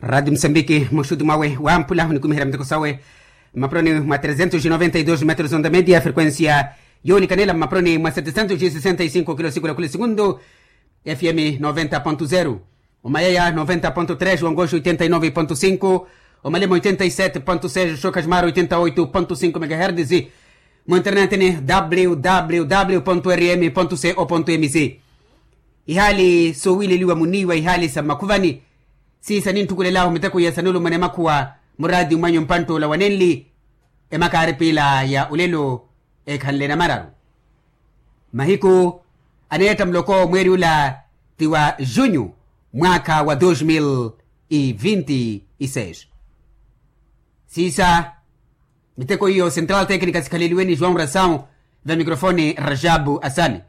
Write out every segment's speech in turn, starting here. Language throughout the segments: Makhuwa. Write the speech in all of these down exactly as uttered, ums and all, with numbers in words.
Radi musambiki muxuti mwawe wamphula onikumiherya miteko sawe mmapuroni mwa trezentos e noventa e dos metros onda media frequencia yoonikanela mmapuroni mwa setezentos e sesenta e cinco kilo sikula kula segundu. Fm noventa ponto zero, omayaya noventa ponto tres, wangoxo oitenta e nove ponto cinco, omalema oitenta e sete ponto seis, oxoka ximaro oitenta oito ponto cinco megaherdes. Mu internet ni www rm co mc. Ihaali soowileliwa muniiwa ihaali sa mmakhuvani. Siisa nintthukhulelahu miteko iya sanulumana emakhuwa muraati mwanyu mpanttoola wanenli. Emakaari piila ya olelo ekhanle namararu. Mahiku aneetta muloko mweeri ula ti wa junyu mwaakha wa dos mil e vinti e seis. Siisa miteko iyo central tecnica sikhaleliwe ni joão rasaw. Vya mikrofoni rajabu asani.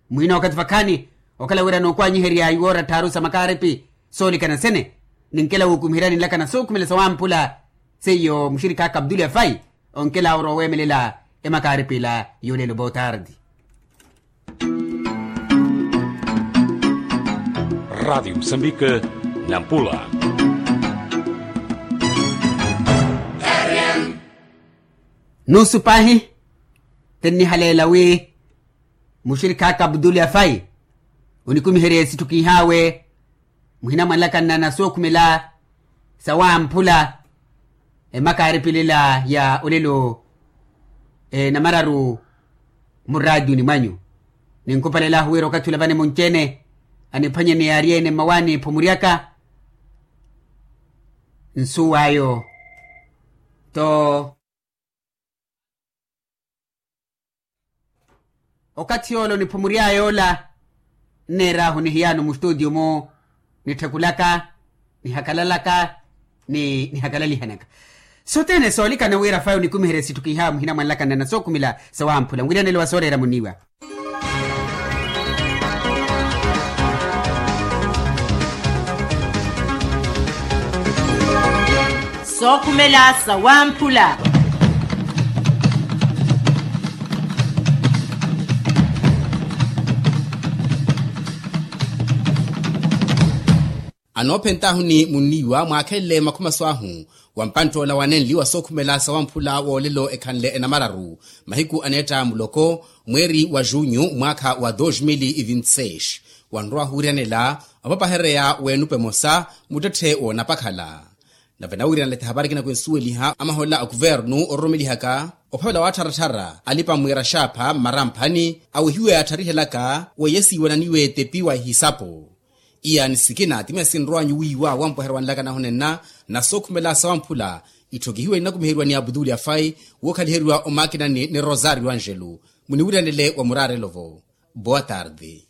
Muhina okathi vakhaani okhala wira nookwanyiherya iwoora tthaaru sa makaaripi soolikana sene. Ninkela wuukumiheryani nlakana sookhumela sawamphula seiyo muxirikha aka abduli afai. Onkela oro oweemelela emakaaripi ila yoolelo botardi. Radiyo musambike nampula. Nusu paahi tinnihaleela wi muxirikha aka abduli afai onikumiherya esitthu kiihaawe. Muhina mwanlakanna na sookhumela sawamphula emakaaripilila ya olelo namararu muraatiyuni mwanyu. Ninkupalelaahu wira okathi ula vane munci-ene aniphwanyene yaari-ene mmawaani ephumuryaka nsuw'ayo to. Okathi yoola oniphumury'aya ola nneer'ahu nihiy'ano mustutio-mu nittthekulaka nihakalalaka ni nihakalalihanaka. Sothene soolikana wira faya onikumiherya sitthu kiihaawe muhina mwanlakanna na sookhumela sawamphula nwiryanelo wa sooreera muniiwa. Sookhumela sawamphula. Anoophentaahu ni munniiwa mwaakhenle makhumaso ahu wa mpanttoola wanenli wa sookhumela sawamphula woolelo ekhanle enamararu mahiku aneetta muloko mweeri wa junyu mwaakha wa dos mil e vinti seis. Wanrowa ohuwiryanela opapahereya w'enupa emosa muttetthe woonapakhala. Nave nawiryanela ti hapari ekina kwinsuweliha amaholela a kuvernu ororumelihaka ophavela wattharatthara alipa mwiira xaapha mmaramphani awehiwe yaattarihelaka weiye siiwananiwe etepi wa ehisapu. Iya ni sikina ti miya sinrowanyu wiiwa wampweherya wanlakana ahunenna na sookhumela sawamphula itthokihiwe ninakumiheriwa ni aputuli afai wookhaliheriwa omakinani ni rosario angelo. Muniwiryanele wa muraarelo-vo. Boa tarde.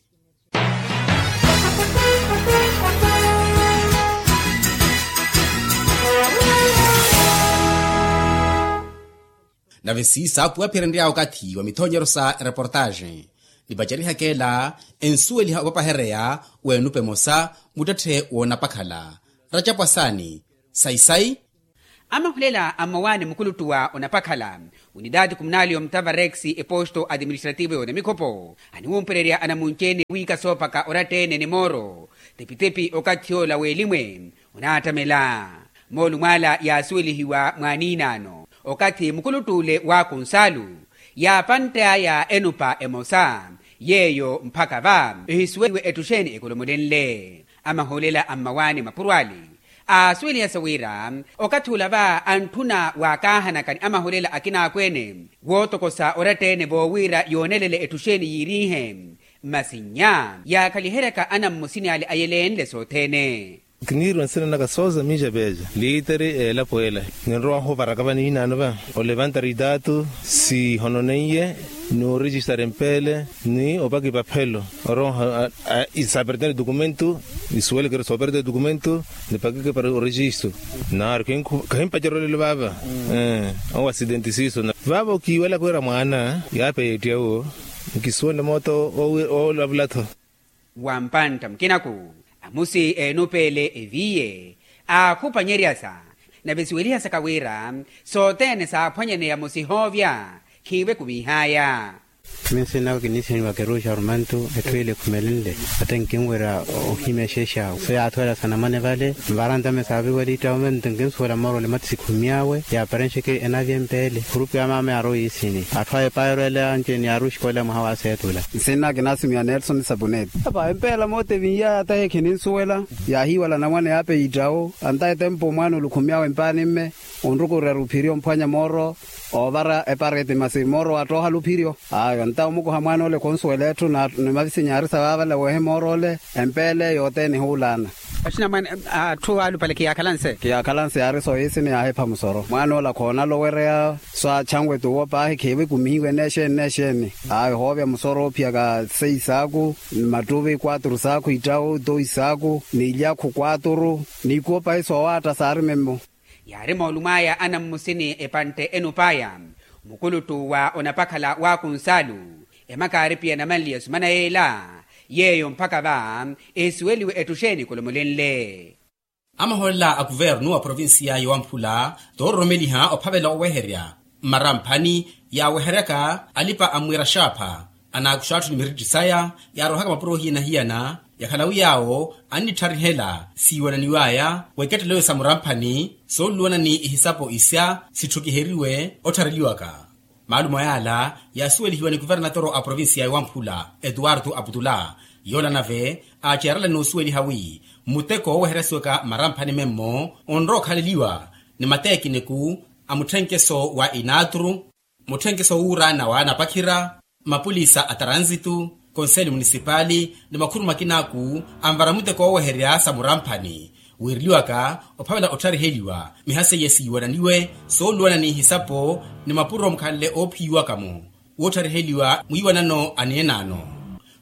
Nave siisa apuwa aphirenrya okathi wa mithoonyeryo sa ereportaaxe nipacerihaka ela ensuweliha opapahereya w'enupa emosa muttetthe woonapakhala. Racapu asaani sayi-sayi. Amahulela a mmawaani mukuluttu wa onapakhala unitaati kumunali omutava rex eposto atiministrativo y'onamikhopo aniwumpererya anamunci-ene wiika soopaka oratta-ene ni mooro tepi-tepi okathi ola w'elimwe onaattamela. Moolumo ala yaasuwelihiwa mwaaniinaano okathi mukuluttu ole wa kunsaalu yaapantt'aya enupa emosa yeeyo mphaka va ehisuweliwe ettuxeeni ekolomolenle. Amahulela a mmawaani mapuro ale aasuwelihasa wira okathi ula va antthuna waakaahanaka ni amahulela akinaakweene wootokosa oratta-ene voowira yoonelele ettuxeeni yiiriihe. Masi nnya yaakhaliheryaka anammusini ale ayelenle sothene. Kiniiriwa nsina naka sooza miica peeca liiteri eelapo ela. Ninrowa ohuvaraka vaniinaano va olevantari itaatu sihononeiye ni orijistari empeele ni opaki paphelo. Oroha isaperteni dokumento isuwelekeri sooperteni dokumento nipakike para orejisto. Naaru kahimpacerya olelo vaava. Owa asidenti siiso vaava okiiwelaka wira mwaana yaapeya ettiya uwo nkisuwenle mooto oolavula-tho. Wa mpantta mukinaku amusi eenupeele eviiye aakhupanyeryasa nave siwelihasaka wira sothene saaphwanyaneya musihoovya khiive kumiihaya. Minsinaka kinisiniwa keruxa rumantu etthu ile ekhumelenle. Ate nkinwerya ohimya exeexawe so yaathuwela sanamane vale. Nvara ntame saaviwela ittawume nto nkinsuwela moorole mati sikhumyawe yaaparenxeke enavya empeele khurupi ya maama yaarowa yiisini. Atthu a epaero ele anci ni yaaruxikolela mwaha wa seetula. Nsinna kinasimiwa nelson sapuneti. Apa empeela moote vinyaya tahi khininsuwela. Yaahiiwala namwane yaape yiittawo anta etempo mwaana olukhumyawe empaani mme. Onrukurya ruphiryo omphwanya mooro oovara epareti masi mooro wattooha luphiryo. Ayo nta omukuha mwaana ole khunsuwela etthu. Ni mavisinya aari sa vaavala weehe mooro ole empeele yothene ehuulaana. Axinamwane atthu alupale khiyaakhalanse. Khiyaakhalanse yaari sooyisini yaahepha musoro mwaana ole akhoonala owereya. So achanwe tuwo paahi khiiwe kumihiwe neexeeni neexeeni. Ayo hoovya musoro oophiyaka seis saaku mattuvi quatru saaku ittawu dois saaku ni ilyakhu quatru. Ni ikuwo paahi soowaatta saari memmo. Yaari moolumo aya anammusini epantte enup'aya. Mukuluttu wa onapakhala waakunsaalu emaka aaripiya namanliya esumana yeela. Yeeyo mpakha va ehisuweliwe ettuxeeni khulumolenle. Amahoolela a kuvernu wa provincia ya wamphula toororomeliha ophavela oweherya mmaramphani yaaweheryaka alipa a mwiira xaapha. Anaakuxa atthu ni miritthi saya yaarohaka mapuro hiyana-hiyana. Yakhala wi yaawo annittharihela siiwananiw'aya w'ekettelo sa muramphani sooluluwana ni ihisapo isya sitthukiheriwe otthareliwaka. Maalumo yaala yaasuwelihiwa ni kuvernatoro a provincia ya wamphula etuwartu aputula. Yoola nave aacerela n'usuweliha wi muteko wooweheryasiwaka mmaramphani memmo onrowa okhaleliwa ni mateekiniku a mutthenkeso wa inaaturu mutthenkeso wuuraana wa anapakhira mapulisa a taransitu konseli munisipali ni makhuru makinaaku anvara muteko wooweherya sa muramphani. Wiireliwaka ophavela otthariheliwa miha seiye siiwananiwe sooluwana n'ihisapo ni mapuro mukhanle oophiyiwaka-mo woothariheliwa mwiiwanano aneenaano.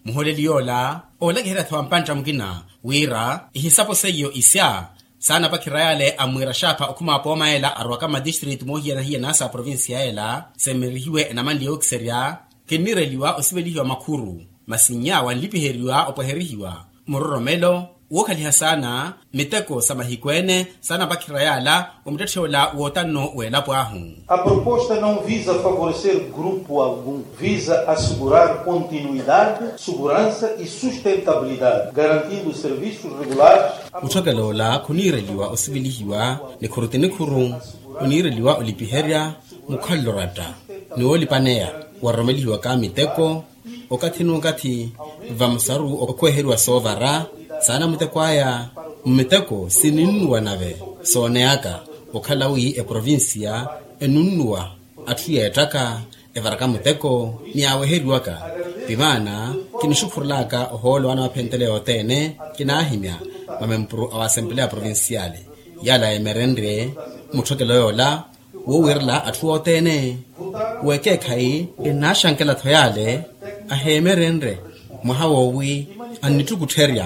Muholeli yoola oolakiherya-tho wa mpantta mukina wira ihisapo seiyo isya saanapakhira yaale a mwiira xaapha okhuma apooma ela arowaka mmatistritu moohiyana-hiyana sa provincia ela semmerihiwe enamanli yookiserya. Kinniireliwa osivelihiwa makhuru masi nnya wanlipiheriwa opweherihiwa muroromelo wookhaliha saana miteko sa mahiku ene saanapakhira yaala wa muttetthe ola wootanno w'elapo ahu. A proposta não visa favorecer grupo algum, visa assegurar continuidade, segurança e sustentabilidade garantindo serviços regulares. Mutthokelo ola khuniireliwa osivelihiwa nikhuru ti nikhuru oniireliwa olipiherya mukhalelo oratta ni woolipaneya waroromelihiwaka miteko okathi n'ukathi vamusaru okhweheriwa soovara saana muteko aya. Mmiteko sininnuwa nave sooneyaka okhala wi eprovincia enunnuwa atthu yeettaka evaraka muteko ni yaaweheriwaka. Vimaana kinixukhurelaka ohoolo anawaphentele yothene kinaahimya mamempuru a wasempeleya provinciale yaala yemerenrye mutthokelo yoola woowiirela atthu othene. W'ekeekhayi enaaxankela-tho yaale aheemerenrye mwaha woowi annittukuttherya